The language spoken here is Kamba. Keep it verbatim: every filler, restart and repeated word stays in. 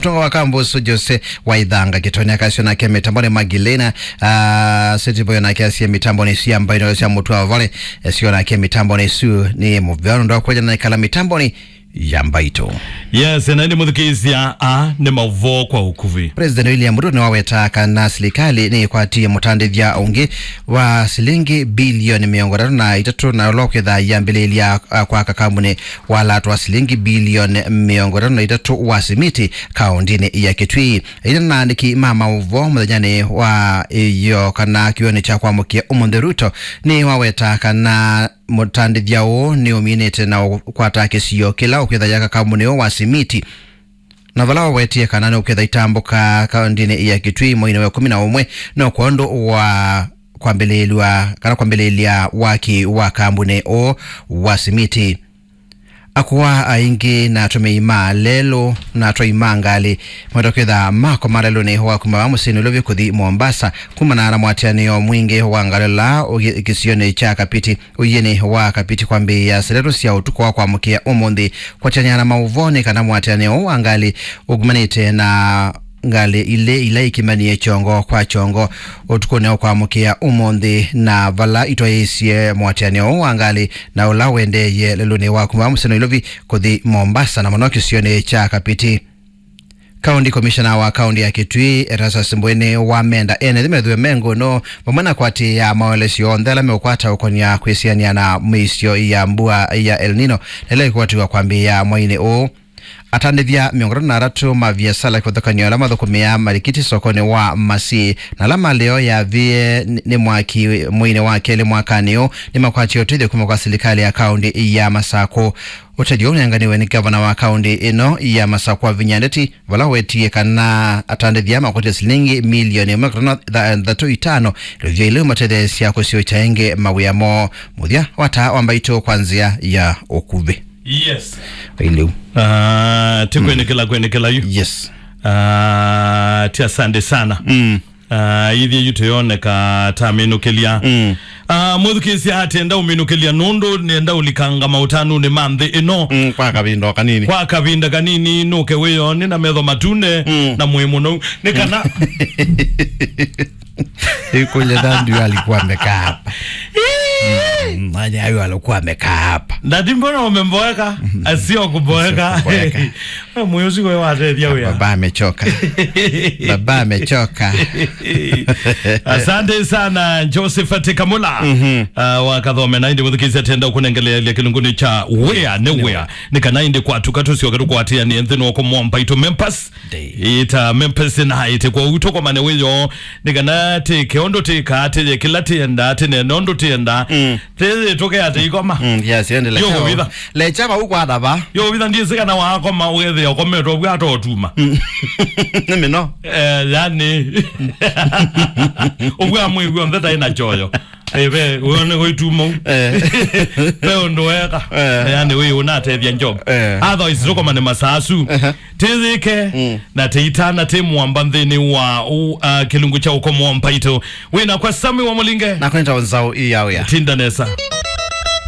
Mũtongoi wa kambuni ũsu Jose Waithanga Kĩtonya akasio nake mĩtambonĩ. Magdalena, ah, Setiboyo nake asie mĩtambonĩ isu ya mbaitũ sya mũtũ wa vale, esio nake mĩtambonĩ isu nĩ mũvea nũndũ wa kwĩtha na ĩkala mĩtambonĩ ya mbaitũ. Yes, na ĩndĩ mũthikĩĩsya, a, nĩ maũvoo kwa ũkuvĩ. President William Ruto nĩwaweta kana silikalĩ nĩĩkwatie mũtandĩthya ũngĩ wa silingi bilioni mĩongo ĩtatũ na itatũ, na ũla ũkwĩtha yambĩlĩlya, a, kwaka kambuni wa lato wa silingi bilioni mĩongo ĩtatũ na itatũ wa simiti kaũndĩnĩ ya Kitui. Ĩtina na andĩki ma maũvoo mũthenyanĩ wa ĩyo kana kĩw'ũnĩ kya kwamũkĩa ũmũnthĩ, Ruto nĩwaweta kana mũtandĩthya ũũ nĩũminĩte na ũkwata kĩsio kĩla ũkwĩtha yaka kambuni ũũ wa simiti, na vala wawetie kana nĩũkwĩtha itambũka kaũndĩnĩ ya Kitui mweinĩ wa ĩkũmi na ũmwe, no kwondũ wa kwambĩlĩlw'a kana kwambĩlĩlya waki wa kambuni ũũ wa simiti. Akũa aingĩ na atũmĩi ma lelũ na atwai ma ngalĩ maweta kwĩtha makoma lelũnĩ wa kuma va mũsyĩnĩ Nairobi kũthi Mombasa, kumana na mũatĩanĩo mwingĩ wa ngalĩ ũla ũĩ kĩsionĩ kya Kapiti, ũiĩnĩ wa Kapiti kwambĩĩa saa itatũ sya ũtukũ wa kwamũkĩa ũmũnthĩ. Kwatany'a na maũvoo nĩ kana mũatĩanĩo ũũ wa ngalĩ ũkumanĩte na ngalĩ ilĩ ila ikimanie kyongo kwa kyongo ũtukũnĩ wa kwamũkĩa ũmũnthĩ, na vala itwaĩĩsye mũatĩanĩo ũũ wa ngalĩ na ũla ũendeeie lelũnĩ wa kuma mũsyĩ Nairobi kũthi Mombasa, na mũno kĩsionĩ kya Kapiti. County Commissioner wa kaunti ya Kitui, Erastus Mbwene, wamenda ene nthĩ methĩwe me ngũno vamwe na kwatĩĩa maelesyo onthe ala meũkwata ũkonia kwĩsianĩa na mĩisyo ya mbua ya El Nino, na ĩla ĩkwatiwa kwambĩĩa mweinĩ ũũ. Atandĩthya mĩongo ĩtatũ na atatũ ma viasala kĩvathũkany'o ala mathũkũmĩaa malikiti sokonĩ wa Masii, na ala malĩ o yavie nĩ mwaki mweinĩ wa kelĩ mwakanĩ ũũ, nĩmakwatie ũtethyo kuma kwa silikalĩ ya kaũndĩ ya Masakũ. Ũtethyo ũũ ũnenganiwe nĩ ngavana wa kaũndĩ ĩno ya Masakũ, Wavinya Ndeti, vala wetie kana atandĩthya makwatie silingi milioni ĩmwe kana thanthatũ itano, ĩlũvya ĩla ĩmatetheesya kũsyũkya ĩngĩ mawĩa moo. Mũthya wa taa wa mbaitũ kwa nzĩa ya ũkuvĩ. Yes. Ĩlĩu. Ah, ti kwenekela, kwenekela yu. Yes. Ah, ti asante sana. Mm. Ah, ithyĩ yu tũyoneka ta minũkĩlya. Mm. Ah, mũthukĩĩsya atenda ũminũkĩlya nũndũ nĩenda ũlikanga maũtanũnĩ ma nthĩ ĩno. Mm, kwa kavinda o kanini. Kwa kavinda kanini, nũke wĩyonĩ na metho matune, mm, na mwĩ mũnou. Nĩ kana Ikuja dhambi alikuwa amekaa hapa. Mm, nani hayo alikuwa amekaa hapa? Ndati, mbona umemboeka? Asio kuboeka. Asio kuboeka. Moyo usiku wewe wateria wea. Baba amechoka. Baba amechoka. Asante sana, Josephat Kamula. Mhm. Ah, wakathome na indi muthikizia tenda kunengelea ile kilunguni cha wea, ne wea. Ni kana indi kwa tukatu sio katu kwa tia ni nthini wako mwamba ito mempas. Ita mempesi na ite kwa uto kwa mane wĩyo, nĩ kana tĩke ũndũ tĩka, tĩye kĩla tĩenda, tĩnene ũndũ tĩenda. Mm. Tĩyĩtũke atĩ ikoma. Mm, yes, endelea. Yo kũvitha. Lecha vau kwa thava. Yo kũvitha, ndiĩsĩ kana wakoma ũgethĩa ũkometwe ũvwa atotuma. Mm. Nĩ mĩno. Eh, yani. Ũvwa mwĩw'o nthe taĩ na choyo. Eh, ve, wone gũituma u. Eh. Ve ũndũ weka. Eh. Yani, wĩ ũnatethya Job. Eh. Otherwise, tũkomane masaa asu. Ehe. Tĩyĩke, mm, na tĩitana tĩ mwamba nthĩnĩ wa ũ, ah, kĩlungu kya ũkomo wa mbaitũ. Wĩna kwa Sami wa Mũlinge. Na kwenda nzaũ ii ya wĩa. Tinda nesa.